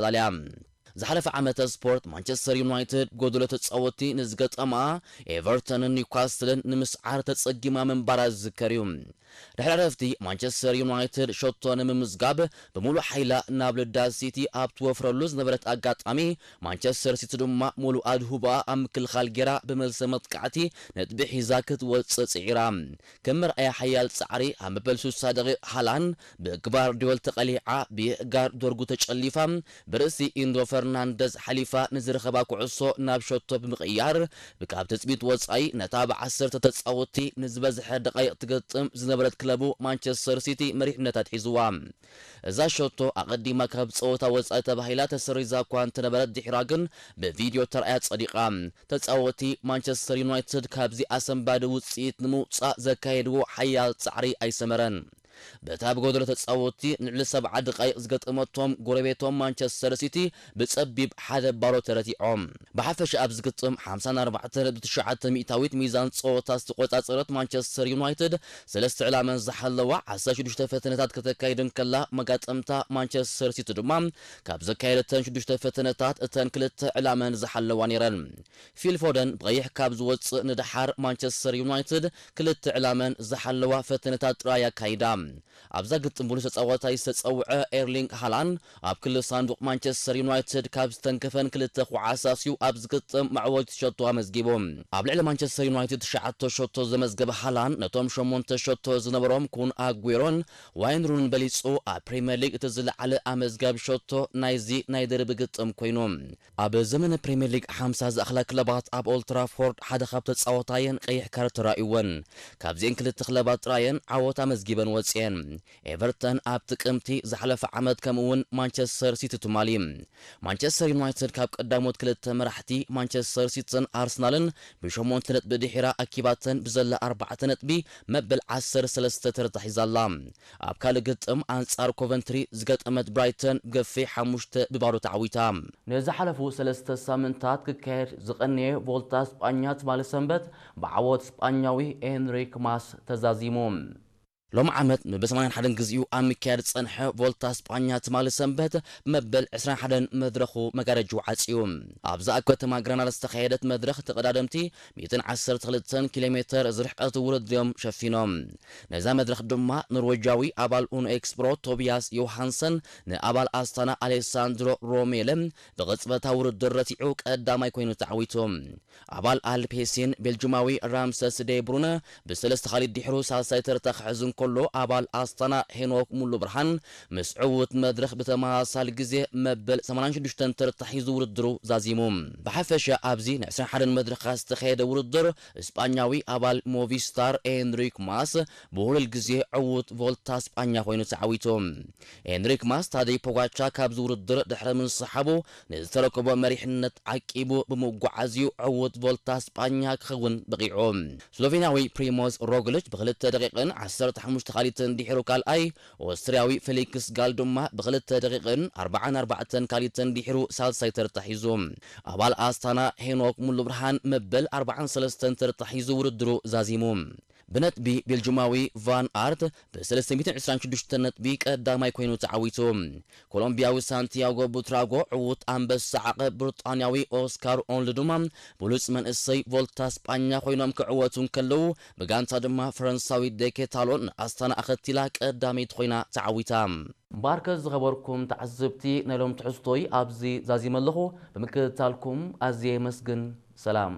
ኣጠቓላልያ። ዝሓለፈ ዓመተ ስፖርት ማንቸስተር ዩናይትድ ጎደሎ ተጻወትቲ ንዝገጠማ ኤቨርተንን ኒውካስትልን ንምስዓር ተጸጊማ ምንባራ ዝዝከር እዩ። ድሕሪ ዕረፍቲ ማንቸስተር ዩናይትድ ሸቶ ንምምዝጋብ ብምሉእ ሓይላ ናብ ልዳ ሲቲ ኣብ ትወፍረሉ ዝነበረት ኣጋጣሚ፣ ማንቸስተር ሲቲ ድማ ሙሉእ ኣድሁባ ኣብ ምክልኻል ጌራ ብመልሰ መጥቃዕቲ ነጥቢ ሒዛ ክትወጽእ ጽዒራ። ከም መርኣያ ሓያል ጻዕሪ ኣብ መበል ሱሳ ደቂቕ ሃላን ብግቫርዲዮል ተቐሊዓ ብየእጋር ዶርጉ ተጨሊፋ ብርእሲ ኢንዶ ፈርናንደዝ ሓሊፋ ንዝረኸባ ኩዕሶ ናብ ሸቶ ብምቕያር፣ ካብ ትጽቢት ወጻኢ ነታ ብዓሰርተ ተጻወትቲ ንዝበዝሐ ደቓይቕ ትገጥም ዝነበረት ክለቡ ማንቸስተር ሲቲ መሪሕነት ኣትሒዝዋ። እዛ ሸቶ ኣቐዲማ ካብ ጸወታ ወጻኢ ተባሂላ ተሰሪዛ እኳ እንተነበረት፣ ድሒራ ግን ብቪድዮ ተራእያ ጸዲቓ። ተጻወቲ ማንቸስተር ዩናይትድ ካብዚ ኣሰንባዲ ውጽኢት ንምውጻእ ዘካየድዎ ሓያል ጻዕሪ ኣይሰመረን። በታ ብጎደሎ ተጻወቲ ንልዕሊ ሰብዓ ደቓይቕ ዝገጠመቶም ጎረቤቶም ማንቸስተር ሲቲ ብጸቢብ ሓደ ባዶ ተረቲዖም። ብሓፈሻ ኣብዚ ግጥም ሓምሳን ኣርባዕተን ነጥቢ ትሽዓተ ሚእታዊት ሚዛን ጸወታ ዝተቆጻጸረት ማንቸስተር ዩናይትድ ሰለስተ ዕላመን ዝሓለዋ ዓሰርተ ሽዱሽተ ፈተነታት ከተካይድ እንከላ፣ መጋጠምታ ማንቸስተር ሲቲ ድማ ካብ ዘካየደተን ሽዱሽተ ፈተነታት እተን ክልተ ዕላመን ዝሓለዋ ነይረን። ፊል ፎደን ብቐይሕ ካብ ዝወጽእ ንደሓር ማንቸስተር ዩናይትድ ክልተ ዕላመን ዝሓለዋ ፈተነታት ጥራይ ኣካይዳ። ኣብዛ ግጥም ብሉስ ተጻዋታይ ዝተጸውዐ ኤርሊንግ ሃላንድ ኣብ ክሊ ሳንዱቕ ማንቸስተር ዩናይትድ ካብ ዝተንከፈን ክልተ ኳዓት ኣስዩ ኣብዚ ግጥም መዕወቲ ሸቶ ኣመዝጊቡ። ኣብ ልዕሊ ማንቸስተር ዩናይትድ ትሽዓተ ሸቶ ዘመዝገበ ሃላንድ ነቶም ሸሞንተ ሸቶ ዝነበሮም ኩን ኣጉዌሮን ዋይን ሩንን በሊጹ ኣብ ፕሪምየር ሊግ እቲ ዝለዓለ ኣመዝጋቢ ሸቶ ናይዚ ናይ ደርቢ ግጥም ኮይኑ። ኣብ ዘመነ ፕሪምየር ሊግ ሓምሳ ዝኣኽላ ክለባት ኣብ ኦልድ ትራፎርድ ሓደ ካብ ተጻወታየን ቀይሕ ካርድ ተራእይወን። ካብዚኤን ክልተ ክለባት ጥራየን ዓወት ኣመዝጊበን ወጺኤን። ኤቨርተን ኣብ ጥቅምቲ ዝሓለፈ ዓመት ከምኡ እውን ማንቸስተር ሲቲ ትማሊ። ማንቸስተር ዩናይትድ ካብ ቀዳሞት ክልተ መራሕቲ ማንቸስተር ሲቲን ኣርሰናልን ብሸሞንተ ነጥቢ ድሒራ ኣኪባተን ብዘላ ኣርባዕተ ነጥቢ መበል ዓሰርተ ሰለስተ ተረታ ሒዛ ኣላ። ኣብ ካልእ ግጥም ኣንጻር ኮቨንትሪ ዝገጠመት ብራይተን ገፊሕ ሓሙሽተ ብባዶ ተዓዊታ። ንዝሓለፉ ሰለስተ ሳምንታት ክካየድ ዝቐነየ ቮልታ ስጳኛ ትማሊ ሰንበት ብዓወት ስጳኛዊ ኤንሪክ ማስ ተዛዚሙ። ሎም ዓመት ንብሰማንያን ሓደን ግዜኡ ኣብ ምክያድ ዝጸንሐ ቮልታ ስጳኛ ትማሊ ሰንበት መበል ዕስራን ሓደን መድረኹ መጋረጅኡ ዓጽዩ። ኣብዛ ኣብ ከተማ ግረናዳ ዝተኻየደት መድረኽ ተቐዳደምቲ ሚእትን ዓሰርተ ክልተን ኪሎ ሜተር ዝርሕቀት ውድድር እዮም ሸፊኖም። ነዛ መድረኽ ድማ ኖርዌጃዊ ኣባል ኡኖ ኤክስፕሮ ቶቢያስ ዮሃንሰን ንኣባል ኣስታና ኣሌሳንድሮ ሮሜለ ብቕጽበታዊ ውድድር ረቲዑ ቀዳማይ ኮይኑ ተዓዊቱ። ኣባል ኣልፔሲን ቤልጅማዊ ራምሰስ ዴ ብሩነ ብሰለስተ ካሊድ ድሕሩ ሳልሳይ ተርታ ክሕዝ እንከሎ፣ ኣባል ኣስታና ሄኖክ ሙሉ ብርሃን ምስ ዕዉት መድረኽ ብተመሳሳሊ ግዜ መበል ሰማንያን ሽዱሽተን ተርታ ሒዙ ውድድሩ ዛዚሙ። ብሓፈሻ ኣብዚ ንዕስራን ሓደን መድረኻት ዝተኻየደ ውድድር፣ እስጳኛዊ ኣባል ሞቪስታር ኤንሪክ ማስ ብሁሉል ግዜ ዕዉት ቮልታ ስጳኛ ኮይኑ ተዓዊቱ። ኤንሪክ ማስ ታደይ ፖጋቻ ካብዚ ውድድር ድሕሪ ምንስሓቡ ንዝተረከቦ መሪሕነት ዓቂቡ ብምጓዓዝዩ ዕዉት ቮልታ ስጳኛ ክኸውን በቒዑ። ስሎቬንያዊ ፕሪሞዝ ሮግሊች ብክልተ ደቂቕን ዓሰርተ ሓሙሽተ ካሊትን ድሒሩ ካልኣይ፣ ኦስትርያዊ ፌሊክስ ጋል ድማ ብክልተ ደቂቕን ኣርባዓን ኣርባዕተን ካሊትን ድሒሩ ሳልሳይ ተርታ ሒዙ። ኣባል ኣስታና ሄኖክ ሙሉ ብርሃን መበል ኣርባዓን ሰለስተን ተርታ ሒዙ ውድድሩ ዛዚሙ። ብነጥቢ ቤልጅማዊ ቫን ኣርት ብሰለስተ ሚእትን ዕስራን ሽዱሽተን ነጥቢ ቀዳማይ ኮይኑ ተዓዊቱ። ኮሎምቢያዊ ሳንቲያጎ ቡትራጎ ዕዉት ኣንበሳ ዓቐብ ብሪጣንያዊ ኦስካር ኦንል ድማ ብሉጽ መንእሰይ ቮልታ ስጳኛ ኮይኖም ክዕወቱ እንከለዉ፣ ብጋንታ ድማ ፈረንሳዊ ዴኬታሎን ንኣስታና ኣኸቲላ ቀዳመይቲ ኮይና ተዓዊታ። እምበኣርከ ዝኸበርኩም ተዓዘብቲ፣ ናይ ሎም ትሕዝቶይ ኣብዚ ዛዚመ ኣለኹ። ብምክትታልኩም ኣዝየ የመስግን። ሰላም።